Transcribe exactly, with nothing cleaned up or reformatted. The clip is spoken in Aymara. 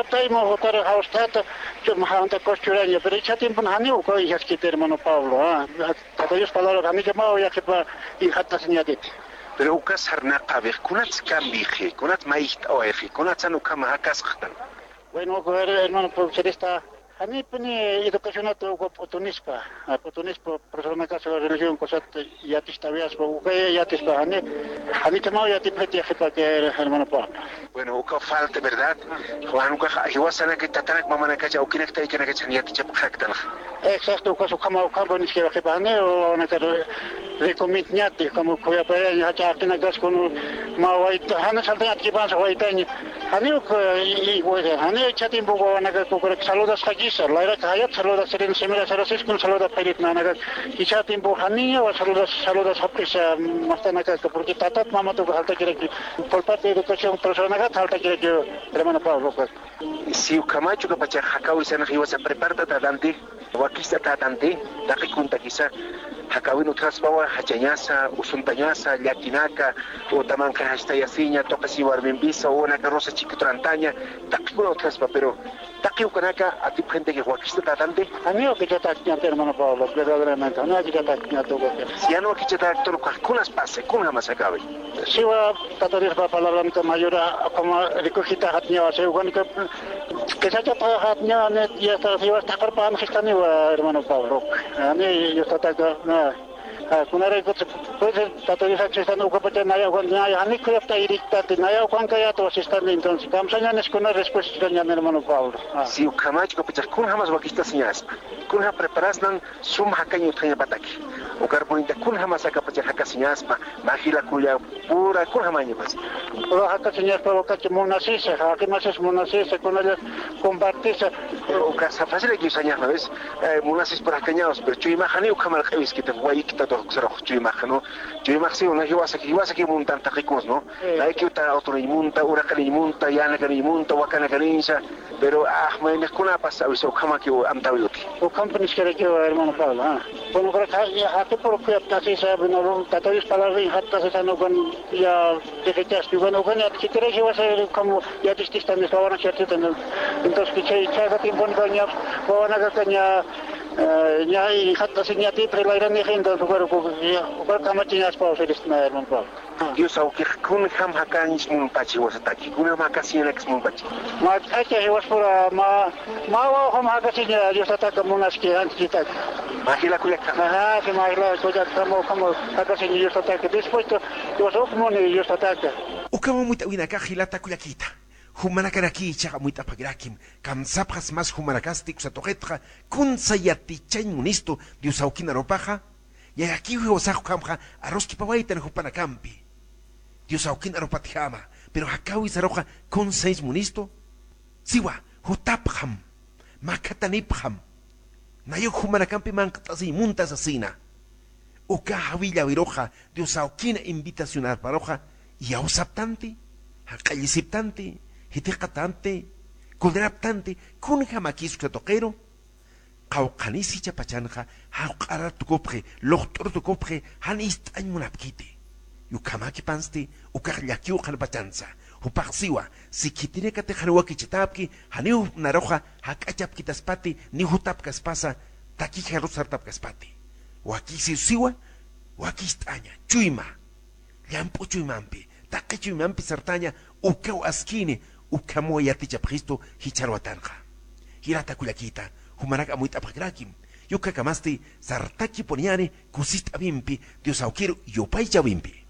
Tayma jutara jawstata, chum jawanta kos churaña, pero ichha tiempon janiw ukaw ijaskiti, hermano Pablo, ah. Tata Dios palabra janichamaw yaqipa injatasiñatiti. Pero ukas sarnaqawix, kunats kambixi, kunats mayjt'awayxi, kunatsan ukhama jakasqtan. Bueno, uka her-, hermano profesorista, janipuni educacionata uka p'utunispa, ah, p'utunispa, profesornakas religión cosat yaticht'awayaspa, uka yatispa, jani, janichamaw yatipxit yaqipa que hermano Pablo. Bueno, uka falta, ¿verdad? Juan, uka jiwasanaka tatanak mamanakacha, awkinakta ikanakacha, yatichapxaktanxa. Exacto, ukas ukhama, ukhama, nisqa waqipani, o, o, naka, recomiendñati, como, kuyapaya, jach'aqinakas, con, ma, wayta, jani saltaña, atkipansa, waytaña. Jani, uka, y, y, pues, jani, chatin, bugo, naka, kukura, saludas, jakisa, layra, kayat, saludas, serin, semira, sarasis, con, saluda, perit, na, naka, y chatin, bu, jani, wa, saludas, saludas, japisa, mastanaka, porque tatat, mamatuka, jalta, kiraki, por parte de educación, profesornakat, jalta, kiraki, hermano Pablo, pues. Si ukhamachu ukapachax jakawisanxa jiwasa prepartatatanti, wakicht'atatanti, taqi kuntakisa, jakawin utjaspawa jachañasa, usuntañasa, llakinaka, o tamanqi jastayasiña, tuqisi warmimpisa, o naka rosa chiquito rantaña, taqikuna utjaspa, pero taqi ukanaka atipxintaki wakicht'atatanti. Janiw akichatakñati, hermano Pablo, verdaderamente, janiw akichatakñati ukaki. Si jan wakichataktun, ukax kunas pasa, kunjamas jakawi. Siwa, Tata Diospa palabranka mayura, como recogida jatñawa, si ukanika, que se ha chapado jatñawa, ne, ya está, siwa, está carpa, no se está ni, hermano Pablo. Ani, yo está acá, na. Ah, kunarayku, pues, Tata Dios, aquí están, ukapacha, naya, ukan, naya, ani, kuyapta, irictate, naya, ukan, kayat, was están, entonces, kamsaña, nes, kuna, respuesta, ñan, hermano Pablo. Ah. Si ukhamachu, ukapacha, kunjamas wakicht'asiñaspa, kunja preparasnan, sum jakañ utjañapataki. Ukar purinta kunjamas akapacha jakasiñaspa, mä jila kullapura kunjamañapas. Pura jakasiñaspa ukachi munasisa, jaqimasis munasisa, kunalla compartisa. Ukasa fácil usañax, ¿no ves? Eh, munasis pura jakañawas, pero chuymax janiw ukhamal q'iwiskiti, wayikta tuqsarux chuymax, ¿no? Chuymax si una jiwasaki, jiwasaki muntan taqikuns, ¿no? Eh. Layki uta autoniñ munta, uraqaniñ munta, yanakaniñ munta, wakanakaniñsa, pero, ah, mayniqkunapas awisa ukhamaki amtawi uti. Ukhampi niskarakiwa, hermano Pablo, ah. Bueno, pero ja-, ya, jaqipur kuyaptasisa, bueno, Tata Dios palabra injattasisa, no, con, ya, dejechasti, bueno, con, ya, si quieres, yo voy a saber cómo, ya, dististan, esta hora, cierto, entonces, que, che, che, ese tiempo, no, ya, bueno, acá, ya, eh, ya, injattasi, ya, ti, pero la gran gente, entonces, bueno, ya, bueno, cómo, ya, es posible, hermano Pablo. Dios awkix kunjam jakañs munpachi jiwasataki, kunjam jakasiñanaks munpachi. Mä k'acha jiwaspura, mä, mä wawjam jakasiña Diosataka munaski anchitaka. Mä jila kullakjam. Ajá, si mä jila kullakjam, ukham jakasiña Diosataka. Dispuesto, Dios uk muni Diosataka. Ukham amuyt'awinakax jilata kullakita. Jumanakanaki ichax amuyt'apxarakïm. Kamsapxas mas jumanakasti uksa tuqitxa, kunsa yatichañ munistu Dios awkin arupaxa. Yayakiw jiwasax ukhamxa aruskipawaytan jupanakampi. Dios awkin arupatjama, pero jakawi saruxa kunsañs munistu. Siwa, jutapxam, makhatanipxam. Nayuk jumanakampi manq't'asiñ munta sasina. Uka jawillawiruxa, Dios awkin invitacionarparuxa, iyawsaptanti, jaq'allisiptanti, jithiqatanti, kuliraptanti, kunjamakis uksa tuqiru. Qawqhanis jichhapachanxa, jawq'arar tukupxi, luqt'ur tukupxi, jan ist'añ munapkiti. Ukhamäkipansti, ukax llakiw qhanpachansa. Jupax siwa, si khitinakatix jan wakichatäpki, janiw naruxa jak'achapkitaspati, ni jutapkaspasa, takix jarus sartapkaspati. Wakisiw siwa, wakist'aña, chuyma. Llamp'u chuymampi, taqi chuymampi sartaña, ukaw askini, ukhamaw yatichapxistu jichhar watanxa. Jilata kullakita, jumanak amuyt'apxakrakim, ukakamasti sartakipuniñäni kusist'awimpi, Dios awkiru yupaychäwimpi.